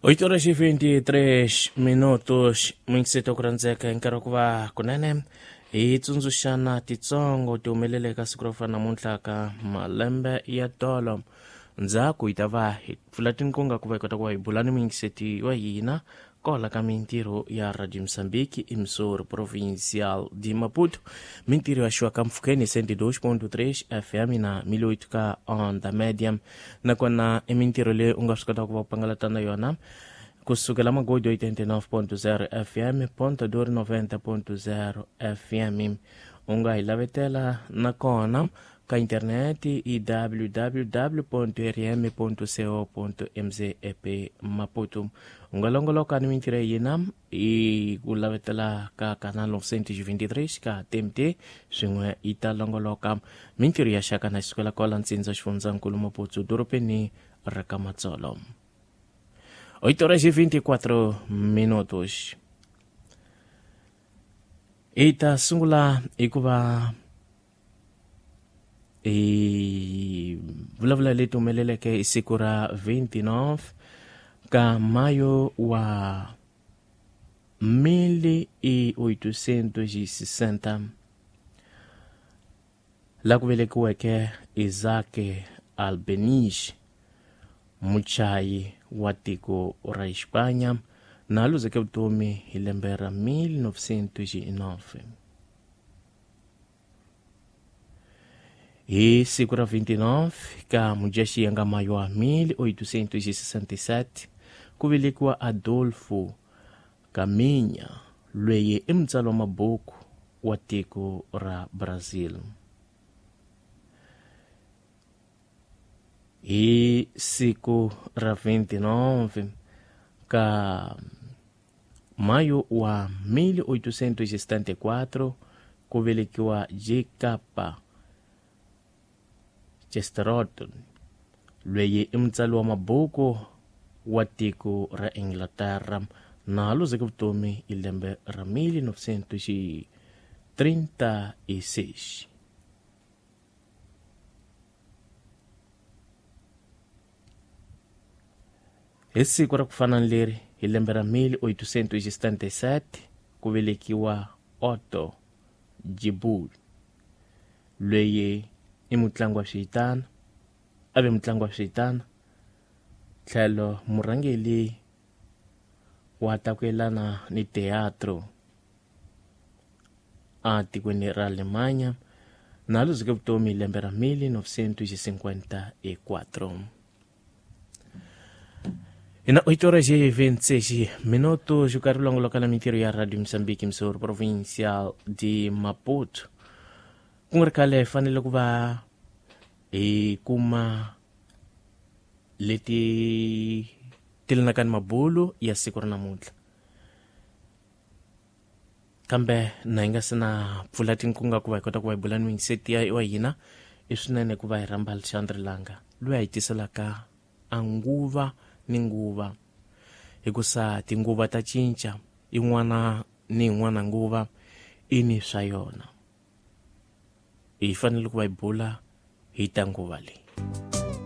8:23 minutos mingiseta ku rhandzeka hi nkarhi wa ku va kunene hi tsundzuxana titsongo ti humelele ka siku ro fana namuntlha ka malembe ya tolo. Ndzhaku hi ta va hi pfula tinkunga ku va hi kota ku va hi bula ni muyingiseti wa hina kola ka mintirho ya Radio Moçambique, emissora provincial de Maputo. Mintirho ya xiwa ka mpfhukeni 102.3 FM na 1008 ka onda média. Nakona i mintirho leyi u nga swi kotaka ku va u pangalata na yona kusukela Magodo 89.0 FM, Ponta Dor 90.0 FM. U nga hi lavetela nakona ka interneti i www.rm.co.mz Maputo. U nga longoloka ni mintirho ya hina i ku lavetela ka canal 923 ka TMT, swin'we yi ta longoloka mintirho ya xaka na xisukela kwala ntsindza xifundzankulu Maputo, dorobeni ra ka Matsolo. 8:24 minutos. Hi ta sungula hi ku va hi vulavula leti humeleleke hi siku ra 29 ka mayo wa 1860, la ku velekiweke Isaac Albeniz, muchayi wa tiko ra Xipanya, na luzeke vutomi hi lembe ra 1909. Hi siku ra 29 ka Mudyaxihi nga mayo wa 1867 ku velekiwa Adolfo Caminha, loyi i mutsari wa mabuku wa tiko ra Brazil. Hi siku ra 29 ka mayo wa 1874 ku velekiwa J.K. Chesterton, loyi i mutsari wa mabuku wa tiko ra Inglaterra, na luzeke vutomi hi lembe ra 1936. Hi siku ra ku fana ni leri hi lembe ra 1877 ku velekiwa Otto Jibul, loyi i mutlangi wa switana, a ve mutlangi wa switana tlhelo murhangeli wa ta ku yelana ni teatro a tikweni ra Alemanya, na luzeke vutomi hi lembe ra 1954. Ina 8:26 minutos, o carro longoloka na mintirho ya Radio Moçambique, emissora provincial de Maputo. Ku nga ri khale hi fanele ku va hi kuma leti ti lenaka ni mabulu ya siku ra namuntlha, kambe na hi nga se na pfula tinkunga ku va hi kota ku va hi bula ni muyingiseti ya wa hina, i swinene ku va hi rhamba Alexandre Langa loyi a hi tiselaka a nguva ni nguva, hikusa tinguva ta cinca, yin'wana ni yin'wana nguva i ni swa yona. Hi fanele ku va hi bula hi ta nguva leyi.